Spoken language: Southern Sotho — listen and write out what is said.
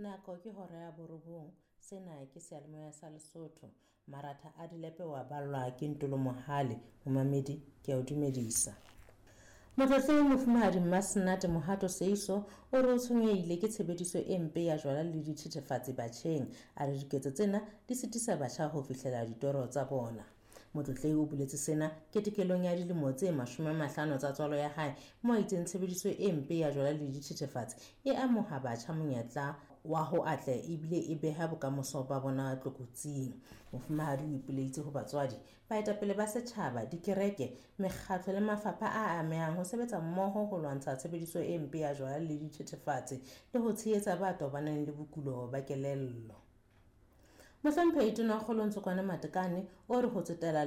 Nako ke hora ya borobong. Sena ke seyalemoya sa Lesotho. Maratha a dilepe wa ballwa ke Ntolo Mohale. Momamedi, ke a o dumedisa. Motlotlehi Mofumahadi Mmasenate Mohato Seiso o re o tshwenyehile ke tshebediso e mpe ya jwala le dithethefatsi batjheng. A re diketso tsena di sitisa batjha ho fihlela ditoro tsa bona. Motlotlehi o boletse sena ketekelong ya dilemo tse 50 tsa tswalo ya hae, moo a itseng tshebediso e mpe ya jwala le dithethefatsi e amoha batjha monyetla wa ho atleha ebile e beha bokamoso ba bona tlokotsing. Mofumahadi o ipoleditse ho batswadi, baetapele ba setjhaba, dikereke, mekgatlo le mafapha a amehang ho sebetsa mmoho ho lwantsha tshebediso e mpe ya jwala le dithethefatsi le ho tshehetsa ba tobaneng le bokulo ba kelello. Mohlomphehi Tonakgolo Ntsokoane Matekane o re ho tsetela